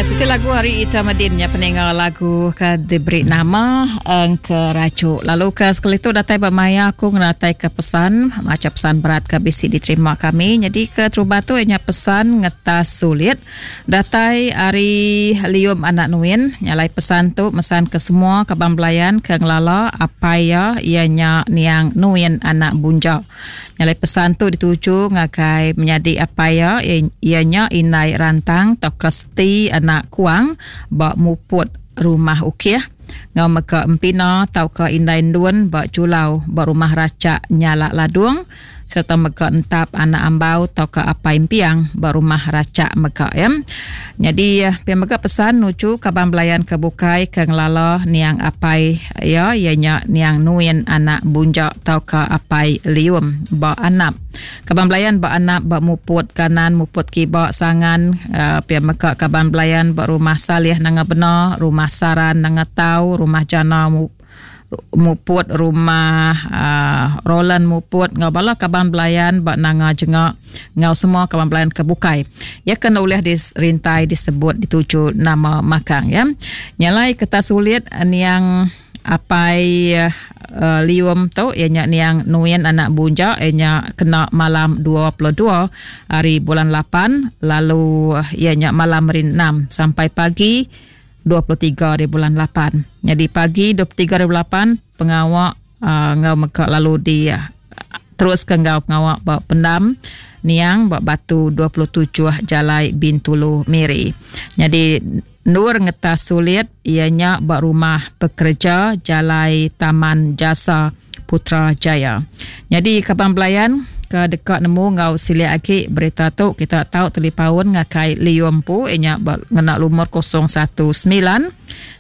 Ya, siti lagu hari Ita Medin nya peninga lagu ke diberi nama Engke Racu. Lalu ke sekali tu datai ba maya aku ngenatai ke pesan, macha pesan berat ke bisi diterima kami. Jadi ke terubah tu nya pesan ngetas sulit datai ari Lium Anak Nuin. Nyalai pesan tu mesan ke semua kaban belayan ke ngelala apai iya iya nya niang Nuin Anak Bunja. Nyalai pesan tu dituju ngagai menyadi apai iya, iya nya indai Rantang tauka Seti anak Kuang ba Muput Rumah Ukih enggau mega Empina tauka indai Endun ba Julau ba Rumah Rachak Nyalak Ladung sereta mega Entap anak Ambau tauka apai Empiang ba Rumah Rachak mega ya. Nyadi pia mega pesan nuju kaban belayan ke bukai ke ngelala niang apai iya iya nya niang Nuin anak Bunja tauka apai Lium ba Anap. Kaban belayan ba Anap ba Muput kanan Muput kiba Sangan pia mega kaban belayan ba Rumah Salih Nanga Bena, Rumah Saran Nanga Tau, Rumah Jana Muput rumah uh, Roland Muput enggau bala kaban belayan ba Nanga Jengak enggau semua kaban belayan ke bukai. Ya kena ulih dirintai disebut dituju nama makang ya. Nyalai keta sulit niang apai uh, Lium tu iya nya niang Nuin anak Bunja iya nya kena malam 22 hari bulan 8 lalu iya nya malam hari 6 sampai pagi 23 hari bulan 8. Nyadi pagi 23 hari bulan 8 pengawa uh, enggau mega lalu di uh, terus ke enggau pengawa ba pendam niang ba batu 27 Jalai Bintulu Miri. Nyadi endur ngetas sulit iya nya ba rumah pekerja Jalai Taman Jasa Putrajaya. Nyadi kaban belayan ke deka nemu enggau silik agi berita tu kita tau telipaun ngakai Liu empu iya nya ngena lumur 019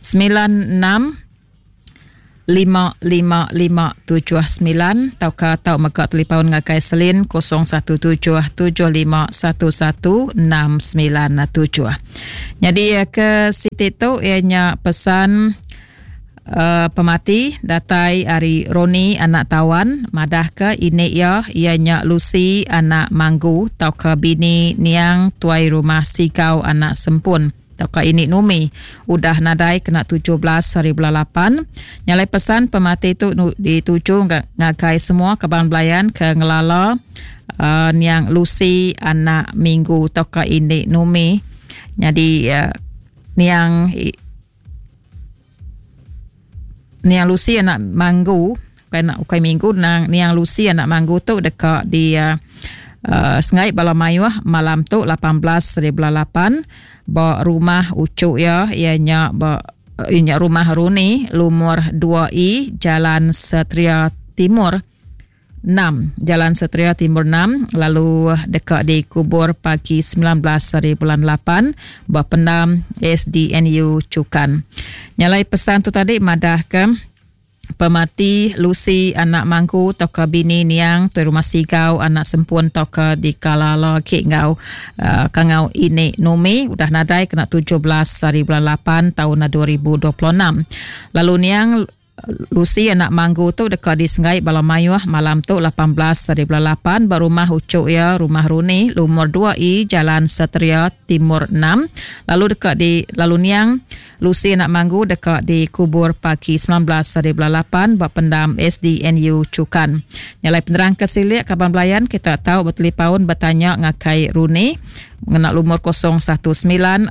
96 55579 tauka tau mega telipaun ngagai Selin 017 7511 697. Nyadi ke siti tu iya nya pesan Pemati datai ari Roni anak Tawan madahka ini iya iya nya Lucy anak Manggu tauka bini niang tuai rumah Sigau anak Sempun tauka ini Numi udah nadai kena 17 hari bulan lapan. Nya alai pesan pemati tu dituju ngagai semua kaban belayan ke ngelala uh, niang Lucy anak Minggu tauka ini Numi nyadi uh, niang Niang Lucy anak Manggu ukai anak ukai minggu nang Niang Lucy anak Manggu tu deka di uh, sengai bala mayuh malam tu 18 hari bulan 8 ba rumah uchu iya iya nya ba iya nya rumah Runi lumur 2E Jalan Satria Timur 6, Jalan Satria Timur 6 lalu deka dikubur pagi 19 hari bulan 8 ba pendam SDNU Chukan. Nyalai pesan tu tadi madahka pemati Lucy anak Mangku tauka bini niang tuai rumah Sigau anak Sempun tauka dikalala agi enggau uh, kangau ini Numi udah nadai kena 17 hari bulan 8 tahun 2026. Lalu niang Lucy anak Manggu tu deka disenggai bala mayuh malam tu 18 hari bulan 8 ba rumah uchu iya Rumah Runi lumur 2E Jalan Satria Timur 6 lalu deka di lalu niang Lucy anak Manggu deka dikubur pagi 19 hari bulan 8 ba pendam SDNU Chukan. Nya alai penerang ke silik kaban belayan kita tau betelipaun betanya ngagai Runi ngena lumur 019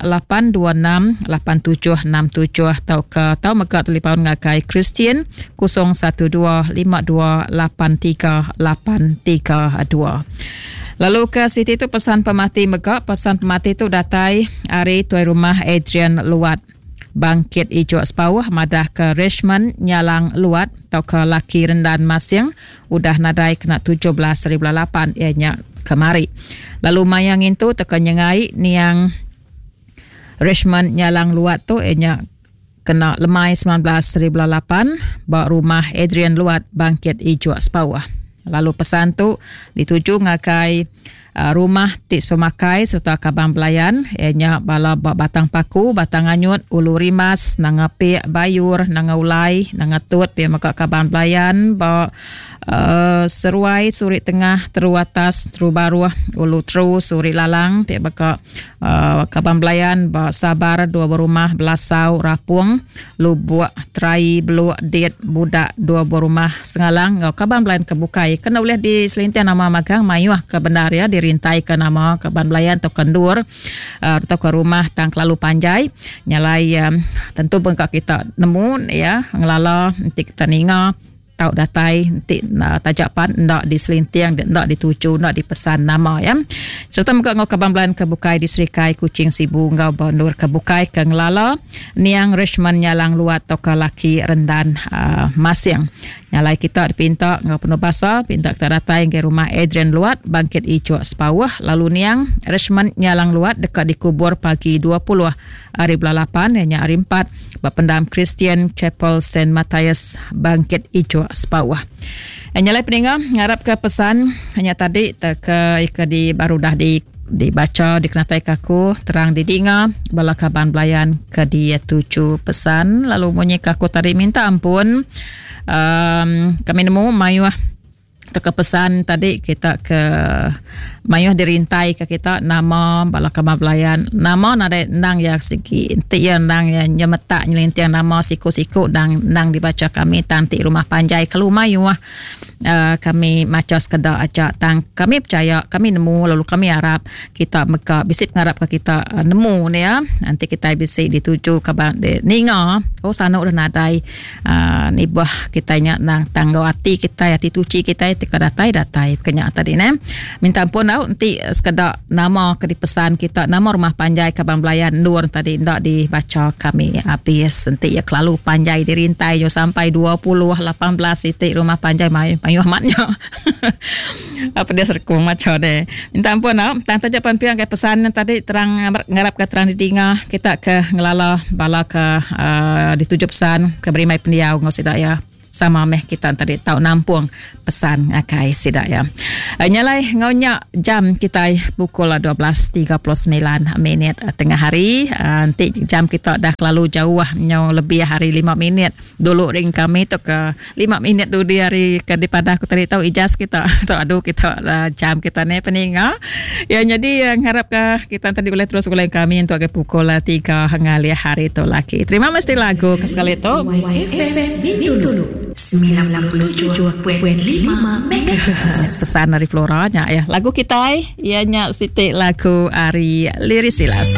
826 8767 tauka tau mega talipaun ngagai Christian 012 52 83 832. Lalu ke siti tu pesan pemati mega, pesan pemati tu datai ari tuai rumah Adrian Luat. Bangkit Ijok Sepauh madah ke Richmond Nyalang Luat tauka laki Rendan Masing udah nadai kena 17 hari bulan 8 iya nya kemari. Lalu maya ngintu teka nyengai niang Richmond Nyalang Luat tu iya nya kena lemai 19 hari bulan 8 ba rumah Adrian Luat Bangkit Ijok Sepauh. Lalu pesan tu dituju ngagai. Rumah ti sepemakai sereta kaban belayan iya nya bala ba Batang Paku, Batang Anyut, Ulu Rimbas, Nanga Pik, Bayur, Nanga Ulai, Nanga Tut pia mega kaban belayan ba uh, Seruai, Suri Tengah, Teru Atas, Teru Baruh, Ulu Teru, Suri Lalang pia mega uh, kaban belayan ba Sabar, Dua Berumah, Belasau, Rapung, Lubuk, Terai, Beluk, Dit, Budak, Dua Buah Rumah, Sengalang enggau kaban belayan ke bukai. Kena ulih diselinting nama magang mayuh ke bendar ya dirintai ke nama kaban belayan tauka endur uh, tauka rumah tang kelalu panjai. Nyalai um, tentu bengka kita nemu ya ngelala enti kita ninga tau datai enti taja pan enda diselinting enda dituju enda dipesan nama ya. Sereta mega enggau kaban belayan ke bukai di Serikai, Kuching, Sibu enggau ba endur ke bukai ke ngelala niang Richmond Nyalang Luat tauka laki Rendan uh, Masing. Nyalai kita dipinta enggau penuh basa pinta kita datai ngagai rumah Adrian Luat Bangkit Icuk Sepauh lalu niang Richmond Nyalang Luat deka dikubur pagi 20 hari bulan 8 iya nya hari 4 ba pendam Christian Chapel Saint Matthias Bangkit Icuk Sepauh. Eh, nyalai peninga ngarap ke pesan hanya tadi te ke ke di baru dah di dibaca dikenatai ke aku terang didinga bala kaban belayan ke dia tuju pesan lalu munyi ke aku tadi minta ampun um, kami nemu mayuh teka pesan tadi kita ke mayuh dirintai ke kita nama bala kaban belayan nama nadai endang ya sigi enti ya endang ya nyemetak nyelinting nama siku-siku dang endang dibaca kami tang ti rumah panjai kelu mayuh uh, kami macha sekeda aja tang kami percaya kami nemu lalu kami arap kita mega bisi pengarap ke kita uh, nemu ni ya nanti kita bisi dituju kaban di, ninga oh sanu udah nadai Uh, nibah kitai nya nang tanggau ati kitai ati tuchi kitai ti ka datai datai ke nya tadi ne minta ampun au enti sekeda nama ke dipesan kita nama rumah panjai kaban belayan endur tadi enda dibacha kami habis enti iya kelalu panjai dirintai nyu sampai 20 18 iti rumah panjai mayuh mayuh amat nya apa dia serkung macha deh minta ampun au tang taja pan pia ngagai pesan tadi terang ngarap ke terang didinga kita ke ngelala bala ke uh, dituju pesan ke berimai pendiau enggau sida ya sama meh kita tadi tau nampung pesan ngagai sida ya. Uh, nyalai enggau nya jam kita pukul 12.39 minit tengah hari. Uh, nanti jam kita dah kelalu jauh nyau lebih hari 5 minit dulu ring kami tu ke 5 minit dudi hari ke dipadah aku tadi tau ijaz kita tau adu kita uh, jam kita ni peninga. Ya jadi uh, ngarap ke kita tadi boleh terus gulai kami untuk ke pukul 3 ngalih hari tu lagi. Terima mesti lagu ke sekali tu. YFM Bintulu 97.5 MHz. Pesan dari Flora nya ya. Lagu kita ya nya siti lagu ari Liris Silas.